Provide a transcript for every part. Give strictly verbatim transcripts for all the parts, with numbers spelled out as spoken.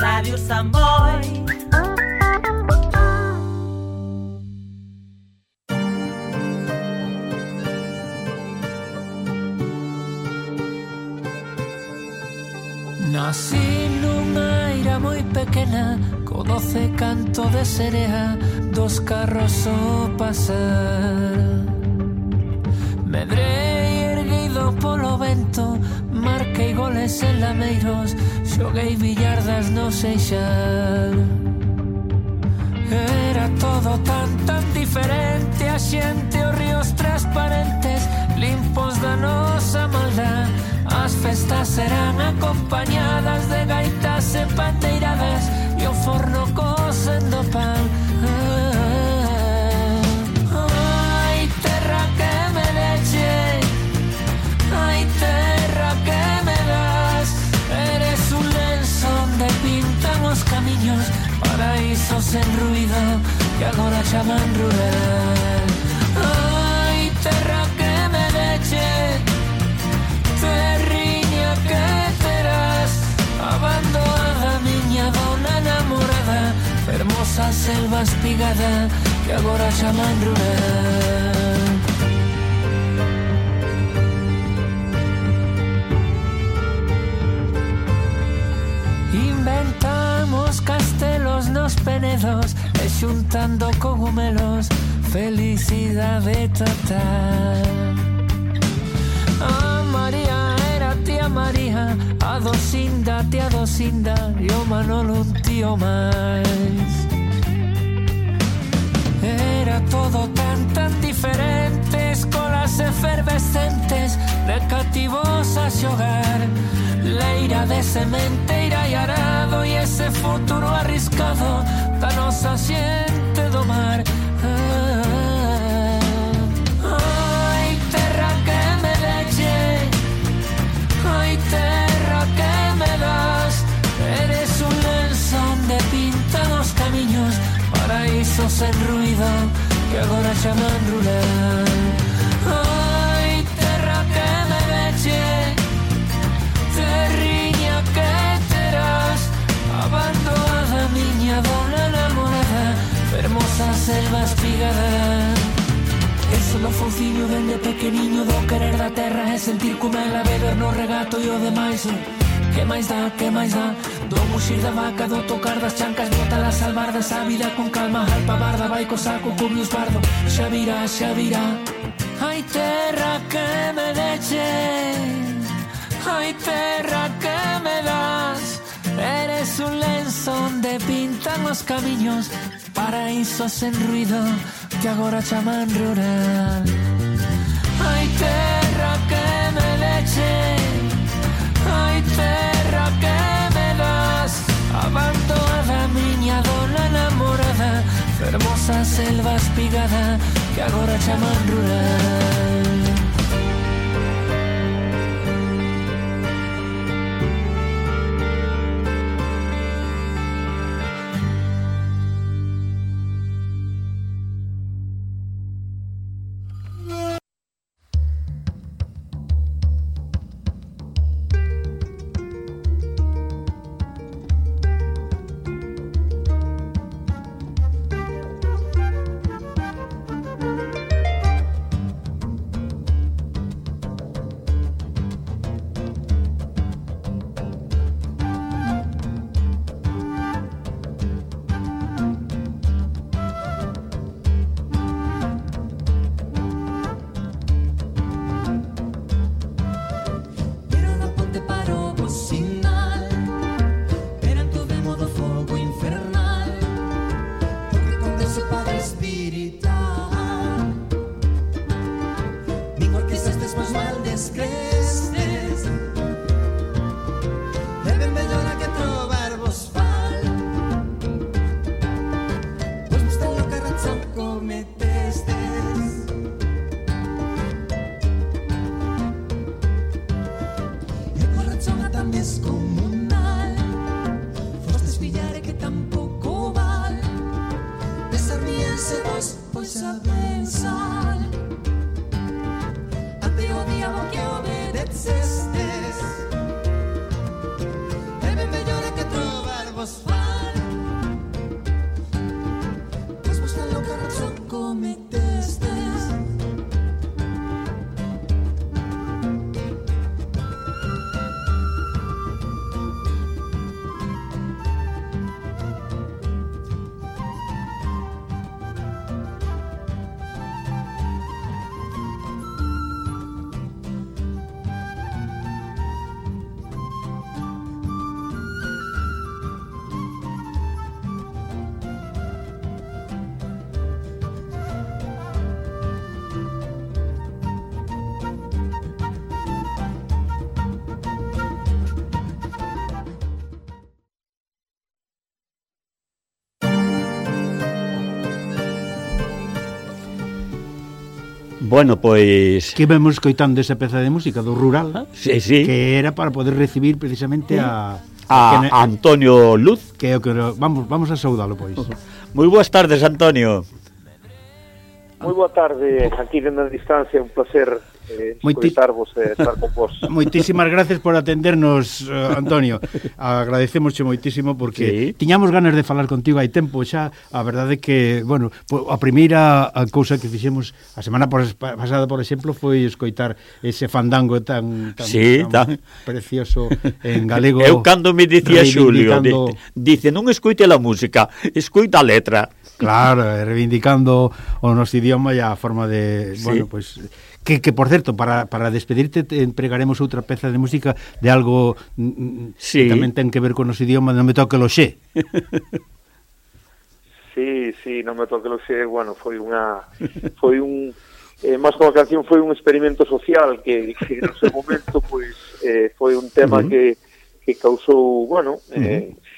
Radio Samboy. Nací nunha ira moi pequena, co doce canto de serea dos carros o pasar. Medrei erguido polo vento, marquei goles en lameiros, xoguei billardas no Seixal. Era todo tan, tan diferente, a xente, os ríos transparentes, limpos da nosa maldad. As festas eran acompañadas de gaitas e pandeiradas e o forno cosendo pan. Ai, terra que me deche, ai, terra que me das, eres un lenzo onde pintan os camiños, paraísos en ruido que agora chaman rural. Ai, terra que me deche, terriña que terás, abandonada miña dona namorada, hermosa selva espigada que agora chaman rural. Inventamos castelos nos penedos e xuntando cogumelos, felicidade total. A María era tía María, a Docinda, tía Docinda e o Manolo un tío máis. Era todo tan, tan diferente, escolas efervescentes, de cativos a xogar, leira de sementeira e arado e ese futuro arriscado da nosa xente do mar. Ai, terra que me deche, ai, terra que me das, eres un lenzo onde pintan os camiños, paraísos en ruido que agora chaman rural. Ai, terra que me deche, terriña que terás, abandonada miña dona namorada, hermosa selva espigada. Eso no fociño dende pequeniño do querer da terra e sentir como ela beber no regato e o demais. Que máis dá, que máis dá, do muxir da vaca, do tocar das chancas, bota las albardas, a vida con calma, alpa barda, vai co saco, cubrios bardo, xa virá, xa virá. Ai, terra que me deche, ai, terra que me das, eres un lenzo onde pintan os camiños, paraísos en ruido que agora chaman rural. Ai, terra que me deche, ai, terra que me das, abandonada miña dona namorada, fermosa selva espigada que agora chaman rural. Bueno, pois... Que vemos escoitando esa peza de música do Rural, ah, sí, sí. que era para poder recibir precisamente a... A, a Antonio Luz. Que, que vamos, vamos a saudalo, pois. Moi boas tardes, Antonio. Moi boa tarde, aquí dentro da distancia, un placer eh, escoitarvos e eh, estar con vos. Moitísimas gracias por atendernos, uh, Antonio. Agradecémosche moitísimo porque sí. Tiñamos ganas de falar contigo hai tempo xa. A verdade é que, bueno, a primeira a cousa que fixemos a semana pasada, por exemplo, foi escoitar ese fandango tan, tan, sí, tan, tan precioso en galego. Eu cando me dicía Xulio, dice, non escoite a música, escoita a letra. Claro, reivindicando o noso idioma e a forma de, sí. Bueno, pois pues, que, que por certo, para, para despedirte te empregaremos outra peza de música de algo sí. Que tamén ten que ver con o noso idioma, non me toque lo xe. Sí, sí, non me toque lo xe, bueno, foi unha foi un eh, máis que unha canción, foi un experimento social que, que no seu momento pois eh, foi un tema uh -huh. que que causou, bueno, eh, uh -huh.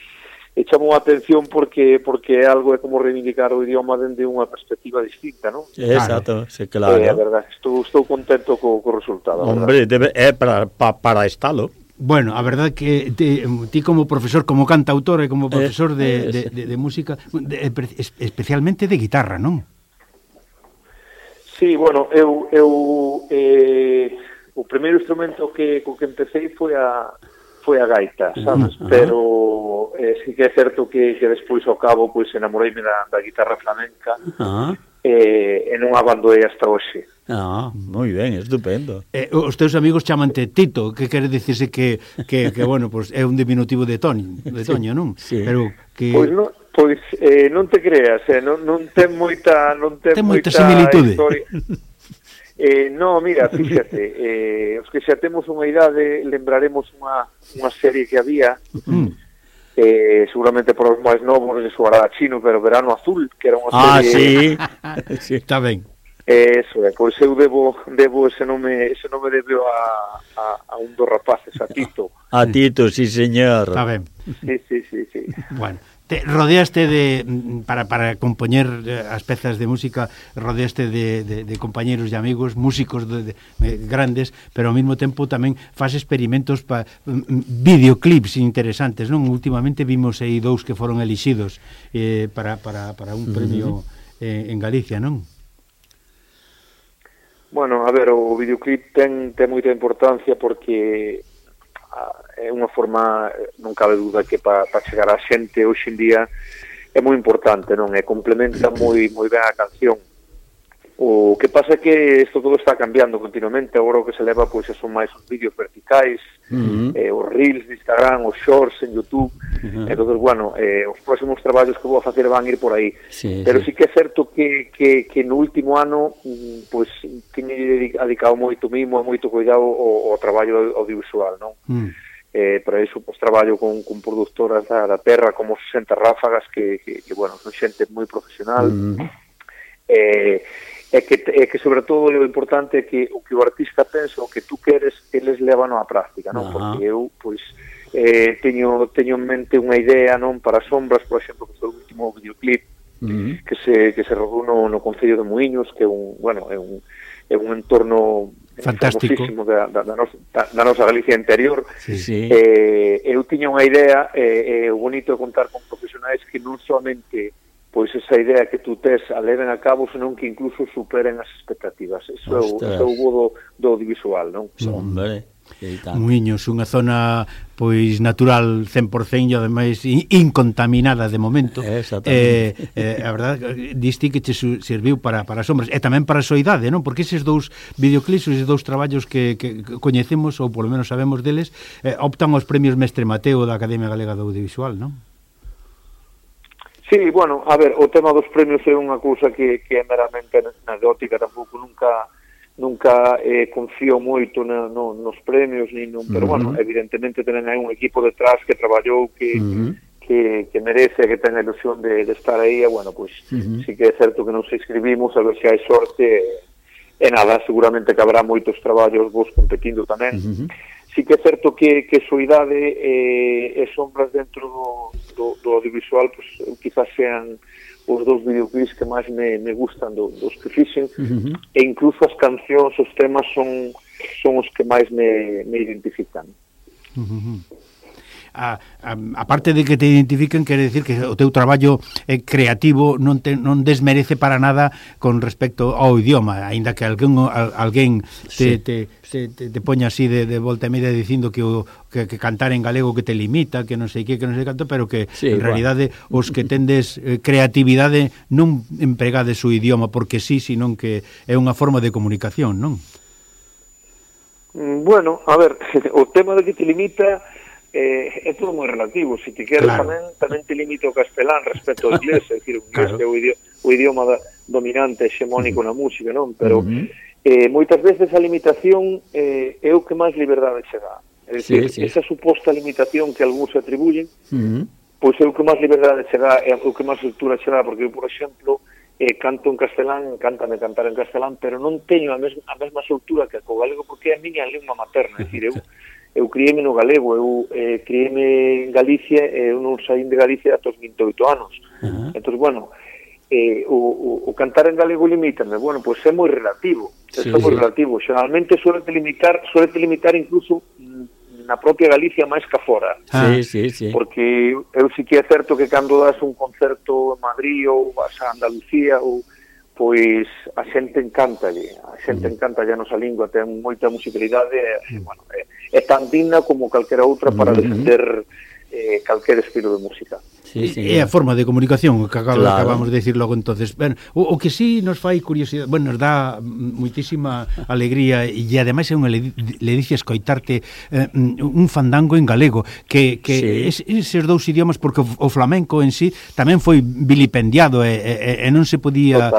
e chamou a atención porque porque é algo é como reivindicar o idioma dende unha perspectiva distinta, non? Exacto, sí, claro. É eh, a verdade, estou, estou contento co, co resultado. Hombre, debe, é para, pa, para estalo. Bueno, a verdade que ti, ti como profesor, como cantautor e como profesor de, de, de, de música, de, especialmente de guitarra, non? Sí, bueno, eu, eu eh, o primeiro instrumento que co que empecé foi a foi a gaita, sabes? Uh -huh. Pero eh, sí que é certo que, que despois ao cabo pois enamoreime da, da guitarra flamenca uh -huh. eh, e non abandonei hasta hoxe. Ah, moi ben, estupendo. Eh, os teus amigos chamante Tito, que quere dicirse que, que, que bueno, pues é un diminutivo de Toño, de Toño, non? Sí. Pero que... Pois non, pois eh, non te creas, eh, non, non ten moita non ten, ten moita, moita similitude. Historia. Eh, no, mira, fíxate, eh, os que xa temos unha idade lembraremos unha, unha serie que había mm. eh, seguramente por os máis novos de soará chino, pero Verano Azul, que era unha ah, serie... Ah, sí, sí, está ben. Eh, eso é, pois eu debo, debo ese nome, ese nome debo a, a, a un dos rapaces, a Tito. A Tito, sí, señor. Está ben. Sí, sí, sí, sí. Bueno. Te rodeaste de, para, para compoñer as pezas de música, rodeaste de, de, de compañeros e amigos, músicos de, de, de grandes, pero ao mesmo tempo tamén faz experimentos para videoclips interesantes, non? Últimamente vimos aí dous que foron elixidos eh, para, para, para un premio eh, en Galicia, non? Bueno, a ver, o videoclip ten, ten moita importancia porque é unha forma, non cabe duda que para pa chegar á xente hoxe en día é moi importante, non? E complementa moi moi ben a canción. O que pasa é que isto todo está cambiando continuamente, agora o que se leva pois son máis os vídeos verticais, uh -huh. eh, os reels de Instagram, os shorts en YouTube, uh -huh. entonces, bueno, eh, os próximos traballos que vou a facer van ir por aí. Sí, pero sí. sí que é certo que, que, que no último ano, pois, tiñe dedicado moito mimo e moito cuidado ao, ao traballo audiovisual, non? Uh -huh. Eh, para iso, pois, traballo con, con productoras da, da terra como sesenta Ráfagas, que, que, que bueno, son xente moi profesional, uh -huh. eh, é que, é que sobre todo o importante é que o que o artista pensa, o que tú queres, eles levan á práctica, non? Uh -huh. Porque eu, pois, eh, teño, teño en mente unha idea, non? Para Sombras, por exemplo, que foi o último videoclip uh -huh. que se que se rodou no, no Concello de Muiños, que é un, bueno, é un, é un entorno fantástico da, da, da, nosa, da, da nosa Galicia interior. Sí, sí. Eh, eu tiña unha idea, e eh, eh, o bonito de contar con profesionais que non solamente pois esa idea que tú tes a leven a cabo, senón que incluso superen as expectativas. Eso é o, é o bo do, do audiovisual, non? Hombre, Muiños, unha zona pois natural cen por cento e ademais incontaminada de momento. Eh, eh, a verdade, diste que che serviu para, para Sombras e tamén para a soidade, non? Porque eses dous videoclips, eses dous traballos que, que coñecemos, ou polo menos sabemos deles, eh, optan aos premios Mestre Mateo da Academia Galega do Audiovisual, non? Sí, bueno, a ver, o tema dos premios é unha cousa que, que é meramente anecdótica, tampouco nunca nunca eh, confío moito na, no, nos premios, ni non, pero uh -huh. bueno, evidentemente tenen aí un equipo detrás que traballou, que, uh -huh. que, que merece, que ten a ilusión de, de estar aí, e bueno, pois pues, uh -huh. sí que é certo que nos inscribimos, a ver se hai sorte, e, e nada, seguramente que habrá moitos traballos vos competindo tamén. Uh -huh. Sí que é certo que, que Soidade eh, e Sombras dentro do, do, do audiovisual, pues, quizás sean os dous videoclips que máis me, me gustan do, dos que fixen, uh-huh. e incluso as cancións, os temas son, son os que máis me, me identifican. Uh-huh. A, a, a parte de que te identifiquen, quere decir que o teu traballo eh, creativo non te, non desmerece para nada con respecto ao idioma, aínda que alguén, al, alguén te, sí. te, te, te, te poña así de, de volta e media dicindo que, o, que, que cantar en galego que te limita, que non sei que, que non sei canto, pero que sí, en igual. realidade os que tendes eh, creatividade non empregades o idioma porque sí, sino que é unha forma de comunicación, non? Bueno, a ver, o tema de que te limita eh, é todo moi relativo. Se ti queres, claro. tamén, tamén te limita o castelán respecto ao inglés, é dicir, o inglés claro. é o idioma, o idioma da, dominante, hexemónico uh-huh. na música, non? Pero uh-huh. eh, moitas veces a limitación eh, é o que máis liberdade che dá. É dicir, sí, sí. esa suposta limitación que algúns atribuyen, uh-huh. pois é o que máis liberdade che dá, é o que máis estrutura che dá, porque eu, por exemplo, eh, canto en castelán, cántame cantar en castelán, pero non teño a mesma, a mesma estrutura que co galego, porque é a miña lingua materna, é dicir, eu eu criéme no galego, eu eh, criéme en Galicia, e eu non saín de Galicia ata os vinte e oito anos. Uh-huh. Entón, bueno, eh, o, o, o cantar en galego limítame, bueno, pois pues é moi relativo, sí, é moi sí. relativo. Xeralmente suele limitar, suele limitar incluso na propia Galicia máis que fora. Ah. Sí, sí, sí. Porque eu sí que é certo que cando das un concerto en Madrid ou vas a Andalucía ou pois a xente encantalle, a xente mm. encantalle a nosa lingua, ten moita musicalidade, e, mm. bueno, é, é tan digna como calquera outra para defender eh, calquer estilo de música. Sí, sí, é a forma de comunicación que claro. acabamos de decir logo entonces. Ben, o, o que sí nos fai curiosidade, bueno, nos dá muitísima alegría e ademais é unha ledicia escoitarte eh, un fandango en galego que, que sí. es, eses dous idiomas, porque o, o flamenco en sí tamén foi vilipendiado e, e, e non se podía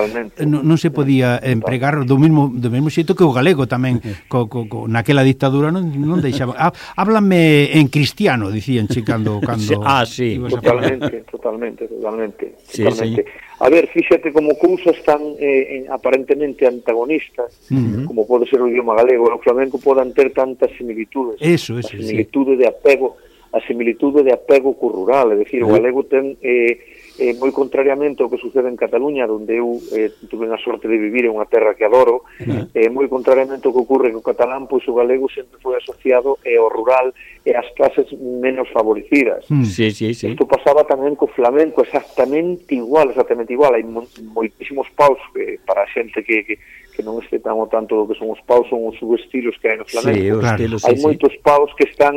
non, non se podía empregar do mesmo do mesmo xeito que o galego tamén co, co, co, naquela dictadura non, non deixaba. Ah, háblame en cristiano, dicían che cando cando ah, sí, totalmente. Totalmente, totalmente, sí, totalmente. Sí. A ver, fíxate como cousas tan eh, aparentemente antagonistas, uh-huh. como pode ser o idioma galego e o flamenco, podan ter tantas similitudes. Eso, eso, a similitude sí. de apego, a similitude de apego co rural, é dicir, uh-huh. o galego ten eh, eh, moi contrariamente ao que sucede en Cataluña, onde eu eh, tuve a sorte de vivir en unha terra que adoro, uh-huh. eh, moi contrariamente ao que ocurre co catalán, pois o galego sempre foi asociado eh, ao rural e ás clases menos favorecidas. Mm. Sí, sí, sí. Isto pasaba tamén co flamenco, exactamente igual, exactamente igual. Hai mo moitísimos paus que para a xente que, que, que non este tan o tanto do que son os paus, son os subestilos que hai no flamenco. Sí, claro. estilos, hai sí, moitos sí. paus que están,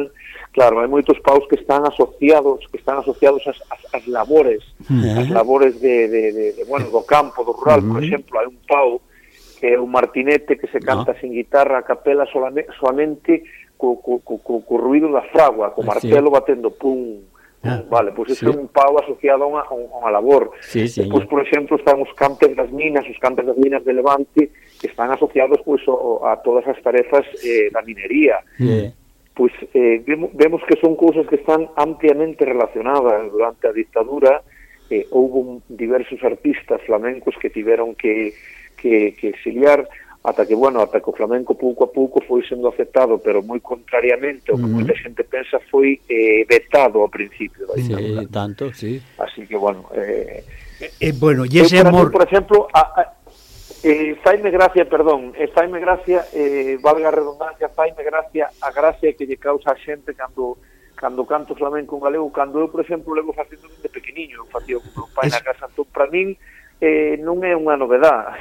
claro, hai moitos paus que están asociados, que están asociados ás, ás, ás labores, uh-huh. as labores de, de, de, de, bueno, do campo, do rural. Uh-huh. Por exemplo, hai un pau que é un martinete que se canta no. sin guitarra, a capela solamente, solamente co, co, co, co ruido da fragua, co martelo sí. batendo pum, ah, vale, pois pues sí. é un pau asociado a unha, a unha labor. Sí, sí, Depois, por exemplo, están os campes das minas, os campes das minas de Levante, que están asociados pois pues, a, a todas as tarefas eh, da minería. Sí. Pois eh, vemos, vemos que son cousas que están ampliamente relacionadas. Durante a dictadura eh, houve diversos artistas flamencos que tiveron que, que, que exiliar, ata que, bueno, ata que o flamenco pouco a pouco foi sendo aceptado, pero moi contrariamente, o que uh-huh. moita xente pensa foi eh, vetado ao principio da dictadura. Sí, tanto, sí. Así que, bueno... Eh, eh, bueno, e ese amor... Por exemplo, a, a, eh, faime gracia, perdón, eh, faime gracia, eh, valga a redundancia, faime gracia a gracia que lle causa a xente cando... cando canto flamenco en galego, cando eu, por exemplo, levo facendo de pequeniño, eu facía con meu pai es... na casa, entón, para min, eh, non é unha novedade.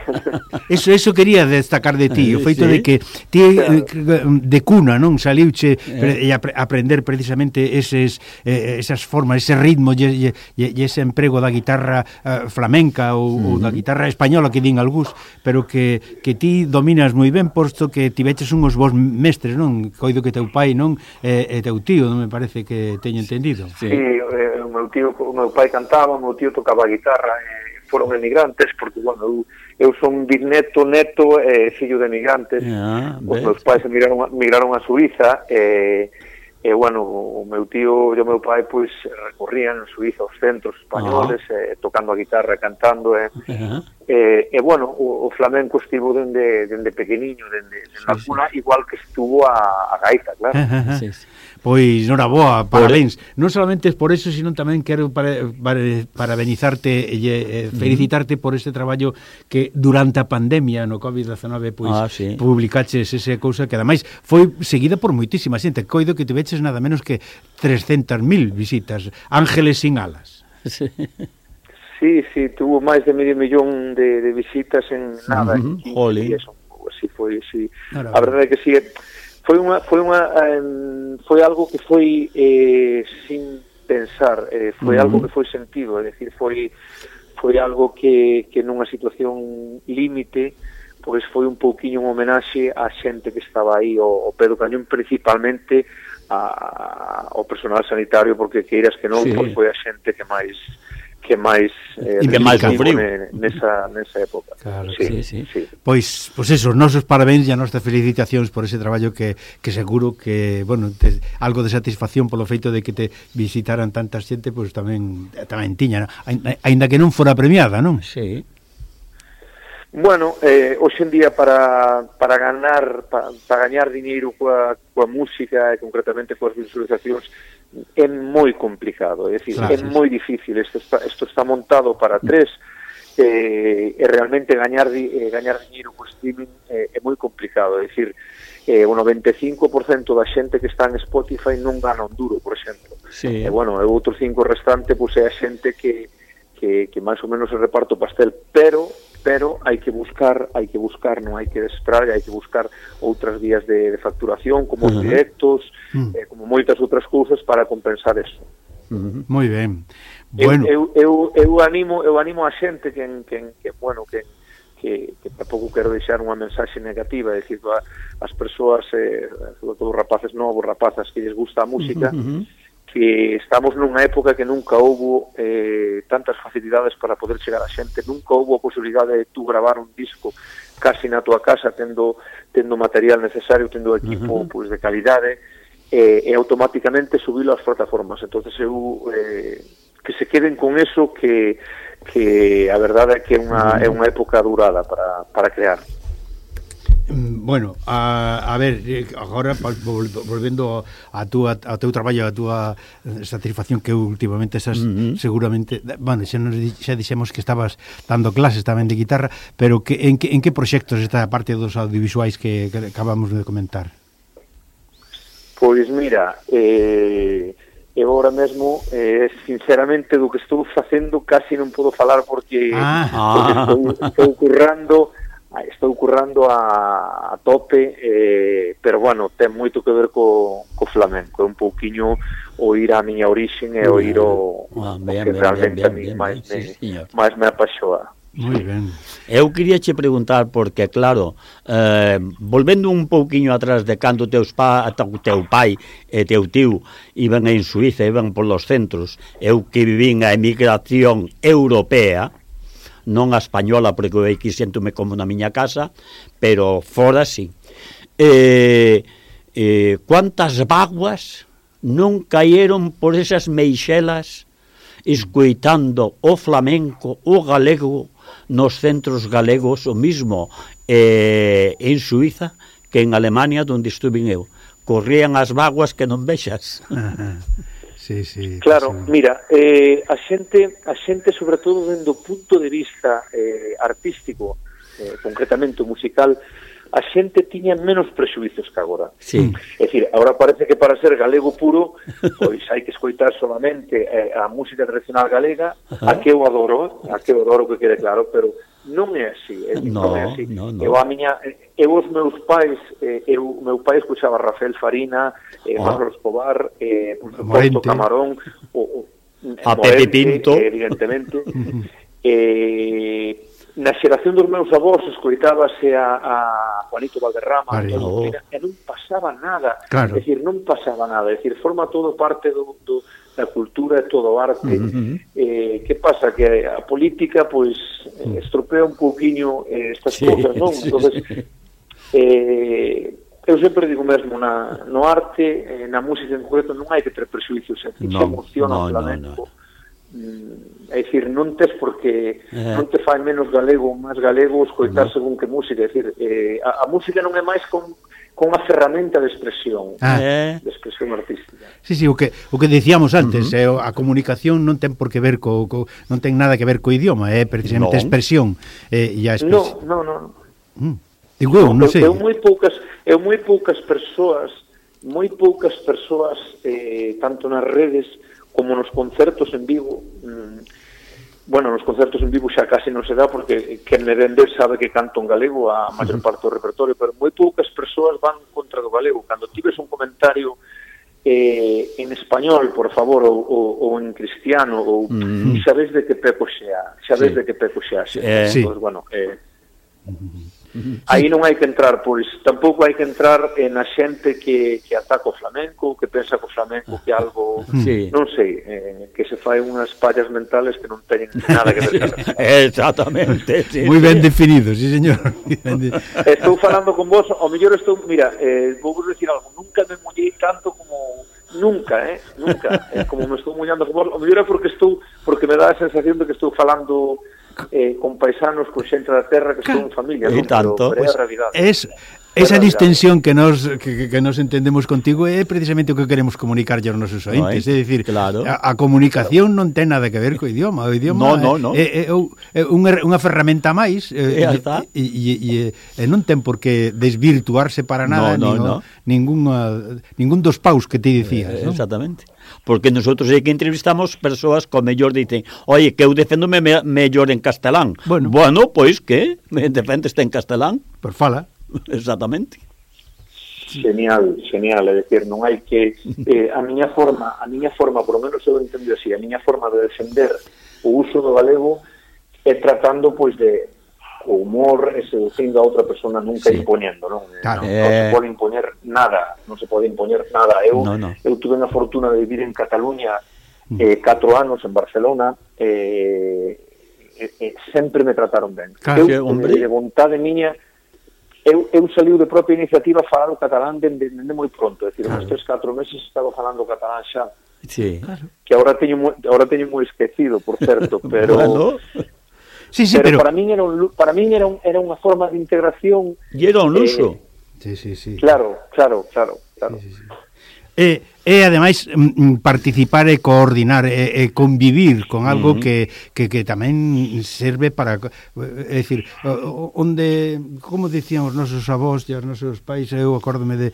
Eso eso quería destacar de ti, o feito sí. de que ti claro. de cuna, non, saliuche eh. e ap aprender precisamente eses eh, esas formas, ese ritmo e, e, e ese emprego da guitarra uh, flamenca ou, uh-huh. ou da guitarra española que din algúns, pero que, que ti dominas moi ben, posto que tiveches unhos bons mestres, non? Coido que teu pai, non? E, e teu tío, non me parece que teño entendido. Sí, sí eh, o meu tío, o meu pai cantaba, o meu tío tocaba a guitarra, e foron emigrantes, porque, bueno, eu, eu son bisneto, neto e eh, fillo de emigrantes. Yeah, os meus pais emigraron, migraron a Suiza e, e, bueno, o meu tío e o meu pai, pois, recorrían en Suiza os centros españoles, uh-huh. eh, tocando a guitarra, cantando, e, uh-huh. e, e bueno, o, o flamenco estivo dende, dende pequeniño, dende, dende sí, a cuna, sí. igual que estuvo a, a gaita, claro. Uh-huh. Sí, sí. Pois, noraboa, parabéns. Por... Non solamente por eso, sino tamén quero para, para, parabenizarte e eh, felicitarte por este traballo que durante a pandemia no covid diecinueve pois ah, sí. publicaches esa cousa que ademais foi seguida por moitísima xente. Coido que te veches nada menos que trescentas mil visitas. Ángeles sin alas. Sí. Sí, sí, tuvo máis de medio millón de, de visitas en nada. Uh -huh. En eso, así foi, sí. No, no, a verdade é que sí, foi unha foi unha um, foi algo que foi eh, sin pensar, eh, foi uh -huh. algo que foi sentido, é dicir, foi foi algo que que nunha situación límite, pois foi un pouquiño un homenaxe á xente que estaba aí ao, ao pé do cañón, principalmente a, ao personal sanitario, porque queiras que non, sí. pois foi a xente que máis que máis eh, que máis sufriu nesa nesa época. Claro, sí, sí, sí. Pois pois eso, os nosos parabéns e as nosas felicitacións por ese traballo que que seguro que, bueno, te, algo de satisfacción polo feito de que te visitaran tanta xente, pois tamén tamén tiña, aínda que non fora premiada, non? Sí. Bueno, eh, hoxe en día para para ganar para, para gañar diñeiro coa coa música e concretamente coas visualizacións é moi complicado, é dicir, claro, é sí, moi difícil. Isto está, isto está montado para tres, eh, e realmente gañar eh, gañar diñeiro co streaming eh, é moi complicado, é dicir, eh, o noventa e cinco por cento da xente que está en Spotify non gana un duro, por exemplo. Sí. E bueno, o outro cinco restante pois é a xente que que que máis ou menos se reparto o pastel, pero pero hai que buscar, hai que buscar, non hai que desesperar, hai que buscar outras vías de, de facturación, como uh -huh. os directos, uh -huh. eh, como moitas outras cousas para compensar eso. Uh -huh. Moi ben. Bueno, eu, eu, eu, eu animo, eu animo a xente que, que, que bueno, que que, que tampouco quero deixar unha mensaxe negativa, é dicir, a, as persoas, eh, sobre todo rapaces novos, rapazas que lles gusta a música, uh -huh. que estamos nunha época que nunca houbo eh, tantas facilidades para poder chegar a xente, nunca houbo a posibilidade de tú gravar un disco casi na tua casa, tendo tendo material necesario, tendo equipo uh -huh. pues, de calidade, eh, e automáticamente subilo ás plataformas. Entonces eu eh, que se queden con eso, que que a verdade é que é unha, uh -huh. é unha época durada para, para crear. Bueno, a, a ver, agora volvendo a túa a teu traballo, a túa satisfacción que últimamente esas uh -huh. seguramente, bueno, xa nos xa dixemos que estabas dando clases tamén de guitarra, pero que en que en que proxectos está a parte dos audiovisuais que, que acabamos de comentar? Pois mira, eh eu agora mesmo, eh, sinceramente, do que estou facendo casi non podo falar porque, ah. porque estou, estou currando estou currando a, a tope, eh, pero bueno, ten moito que ver co, co flamenco, é un pouquiño o ir á miña orixen e o ir o, ah, ben, o que ben, realmente ben, ben, a mí ben, máis, ben, me, sí, máis me apaixoa. Moi ben. Eu quería che preguntar porque, claro, eh, volvendo un pouquiño atrás de cando teus pa, teu pai e teu tío iban en Suiza, iban polos centros, eu que vivín a emigración europea, non a española, porque eu aquí séntome como na miña casa, pero fora sí. Eh, eh, cuántas vaguas non caeron por esas meixelas escoitando o flamenco, o galego, nos centros galegos, o mismo eh, en Suiza que en Alemania, onde estuve eu. Corrían as vaguas que non vexas. Sí, sí, claro, sí. Mira, eh, a xente, a xente sobre todo dentro do punto de vista eh, artístico, eh, concretamente musical, a xente tiña menos prexuizos que agora. Sí. É dicir, agora parece que para ser galego puro, pois hai que escoitar solamente eh, a música tradicional galega, uh-huh. a que eu adoro, a que eu adoro que quede claro, pero non é así, é, no, non é así. No, no. Eu a miña, eu os meus pais, eh, eu meu pai escuchaba Rafael Farina, eh, oh. Manolo Escobar, eh, por suposto Camarón, o, o a Pepe Pinto, eh, evidentemente. eh, na xeración dos meus avós escoitábase a, a Juanito Valderrama, Vale, oh. e non pasaba nada, claro. é dicir, non pasaba nada, é dicir, forma todo parte do, do da cultura e todo o arte. Uh -huh. eh, que pasa? Que a política pois eh, estropea un pouquiño eh, estas sí, cousas, non? Sí, Entonces, sí. eh, eu sempre digo mesmo, na, no arte, eh, na música en concreto, non hai que ter prejuicios, se no, se emociona no, o flamenco. No, no. É dicir, non tes porque eh. non te fai menos galego ou máis galego escoitar no. según que música, é dicir, eh, a, a música non é máis con con unha ferramenta de expresión, Ah. de expresión artística. Sí, sí, o que o que dicíamos antes, uh -huh. eh, a comunicación non ten por que ver co, co non ten nada que ver co idioma, é eh, precisamente a expresión, eh, e a expresión. No, no, no. Mm. Digo, eu, non sei. Eu moi poucas, eu moi poucas persoas, moi poucas persoas eh, tanto nas redes como nos concertos en Vigo. Mm, bueno, nos concertos en Vigo xa casi non se dá porque quen me vende sabe que canto en galego a maior parte do repertorio, pero moi poucas persoas van contra do galego. Cando tives un comentario eh, en español, por favor, ou, ou, ou en cristiano, ou mm. sabes de que peco xa, sabes sí. de que peco xa, xa. Eh, sí. Pues, bueno, eh, aí non hai que entrar, pois tampouco hai que entrar en a xente que, que ataca o flamenco, que pensa que o flamenco que algo, sí. non sei, eh, que se fai unhas pallas mentales que non teñen nada que ver. Exactamente, sí. Moi ben definido, sí, señor. Estou falando con vos, ao mellor estou, mira, eh, vou vos decir algo, nunca me mollei tanto como nunca, eh, nunca, eh, como me estou mollando con vos, ao mellor é porque estou, porque me dá a sensación de que estou falando eh, con paisanos, con xente da terra que estou en familia, e non? tanto, pero, pero é a realidade. Es esa distensión que nos que, que nos entendemos contigo é precisamente o que queremos comunicar aos nosos ointes, é dicir, claro. a, a comunicación non ten nada que ver co idioma, o idioma no, no, no. é, é, é unha, unha ferramenta máis e, e, e, e non ten por que desvirtuarse para nada no, no, nin, no. ningún, ningún dos paus que te dicías, eh, ¿no? Exactamente. Porque nosotros é que entrevistamos persoas que mellor dicen, oye, que eu defendome me, mellor en castelán. Bueno, bueno pois que me defendeste en castelán. Por fala. Exactamente. Genial, genial, é dicir, non hai que eh, a miña forma, a miña forma, por lo menos eu entendo así, a miña forma de defender o uso do galego é tratando pois de o humor e seducindo a outra persona, nunca sí. impoñendo, non? Claro. Non, non se pode impoñer nada, non se pode impoñer nada. Eu no, no. eu tuve a fortuna de vivir en Cataluña eh, catro anos en Barcelona e eh, eh, sempre me trataron ben. Claro, eu, hombre. de vontade miña, eu, eu saliu de propia iniciativa a falar o catalán dende de, de moi pronto, é dicir, claro. uns tres, catro meses estaba falando o catalán xa, sí. claro. que agora teño, agora teño moi esquecido, por certo, pero... bueno. Sí, sí, pero, pero para min era un, para min era un, era unha forma de integración. E era un luso. Eh, sí, sí, sí. Claro, claro, claro, claro. Sí, sí, sí. E, e ademais m, participar e coordinar e, e convivir con algo uh -huh. que, que, que tamén serve para, é dicir, onde, como dicían os nosos avós e os nosos pais, eu acórdome de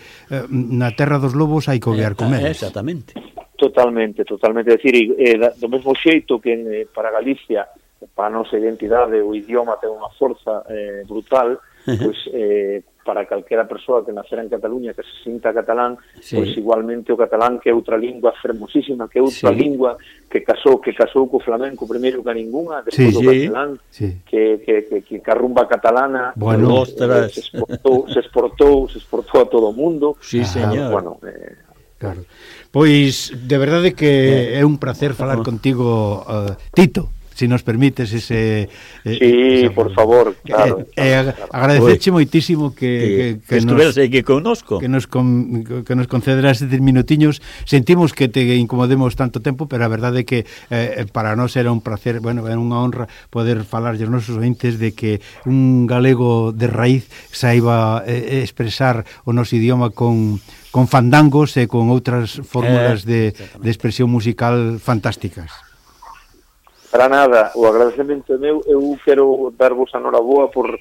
na terra dos lobos hai que obear con eles. Exactamente. Totalmente, totalmente, é dicir, eh, do mesmo xeito que eh, para Galicia, para a nosa identidade, o idioma ten unha forza eh, brutal, pois eh, para calquera persoa que nacera en Cataluña que se sinta catalán, sí. pois igualmente o catalán, que é outra lingua fermosísima, que é outra sí. lingua que casou que casou co flamenco primeiro que a ninguna, despois sí, o catalán, sí. que, que, que, que, que a rumba catalana bueno, eh, se exportou, se exportou, se exportou a todo o mundo. Sí, señor. Bueno, eh, claro. Pois de verdade que é un placer falar uh -huh. contigo, uh, Tito. Si nos permites ese... Eh, sí, ese, por favor, claro. Eh, eh, claro. Agradecerche moitísimo que, que, que, que estuveras aquí connosco. Que nos, con, que nos concederas estes minutiños. Sentimos que te incomodemos tanto tempo, pero a verdade é que eh, para nós era un placer, bueno, era unha honra poder falar aos nosos ointes de que un galego de raíz saiba eh, expresar o noso idioma con... con fandangos e con outras fórmulas eh, de, de expresión musical fantásticas. Para nada, o agradecemento meu, eu quero darvos a noraboa por,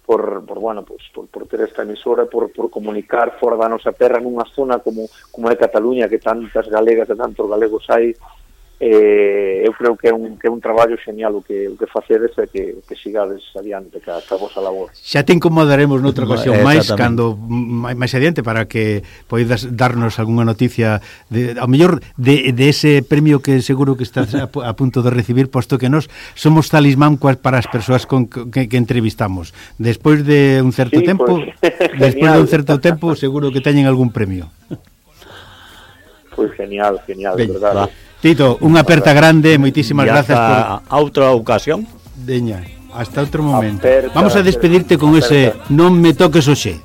por, por, bueno, pues, por, por ter esta emisora, por, por comunicar fora da nosa terra nunha zona como, como é Cataluña, que tantas galegas e tantos galegos hai. Eh, eu creo que é un, que é un traballo genial o que, o que facedes e que, que sigades adiante ca, ca vosa labor. Xa te incomodaremos noutra ocasión máis cando máis adiante para que poidas darnos algunha noticia de, ao mellor de, de ese premio que seguro que estás a, a punto de recibir, posto que nós somos talismán para as persoas con, que, que entrevistamos. Despois de un certo sí, tempo pues, despois de un certo tempo seguro que teñen algún premio. Pois pues genial, genial, de verdade. Tito, unha aperta grande, moitísimas grazas por... a outra ocasión. Deña, hasta outro momento. Aperta, vamos a despedirte con aperta. Ese Non me toques o xe.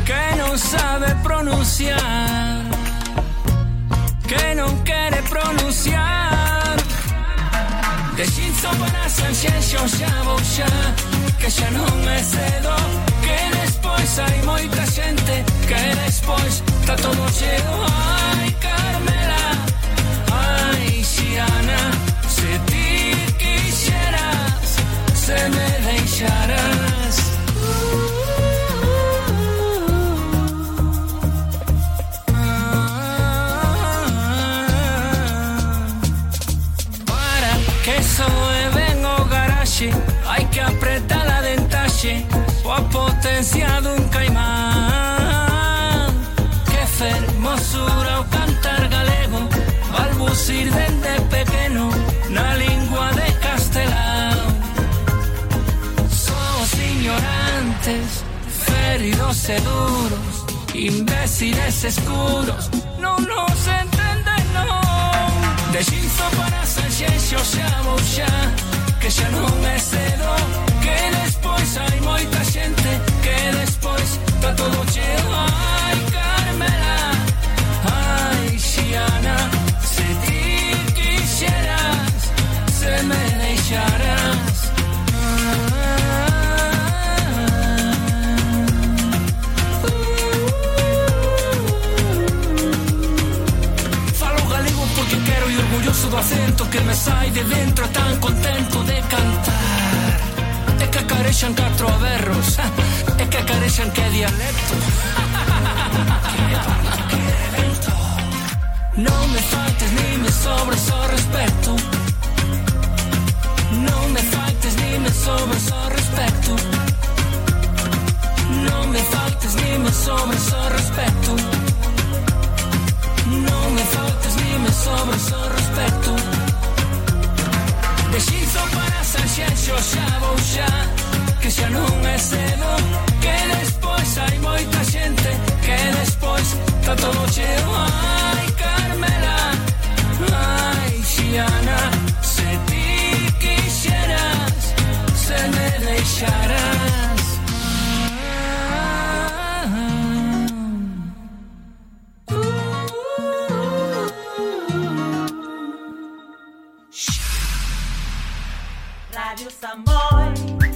Que non sabe pronunciar, que non quere pronunciar, de Deshinzo para Sanxenxo xa vou xa, que xa non é cedo, que despois hai moita xente, que despois está todo cheo. Ai, Carmela, ai, Xiana, se ti quixeras, se me deixaras. Para que soe ben o garaxe, hai que apretar a dentaxe, coa potencia dun caimán. Que fermosura o cantar galego, balbucir dende pequeno na lingua de castelán. Somos ignorantes, feridos e duros, imbéciles escuros, non nos entenden, non. Deshinzo para Sanxenxo xa vou xa, que xa non é cedo, que despois hai moita xente, que despois está todo cheo. Ai, Carmela, ai, Xiana, se ti quixeras, se me deixaras. Falo galego porque quero e orgulloso do acento que me sai de dentro, tan contento de cantar. É que acarexan catro berros, é que acarexan que dialecto. Non me faltes ni me sobres o respeto, non me faltes ni me sobres o respeto, non me faltes ni me sobres o respeto, non me faltes ni me sobres o respeto. Deshinzo para Sanxenxo xa vou xa, que xa non é cedo, que despois hai moita xente, que despois está todo cheo. Ai, Carmela, ai, Xiana, se ti quixeras, se me deixaras. Radio Samboy.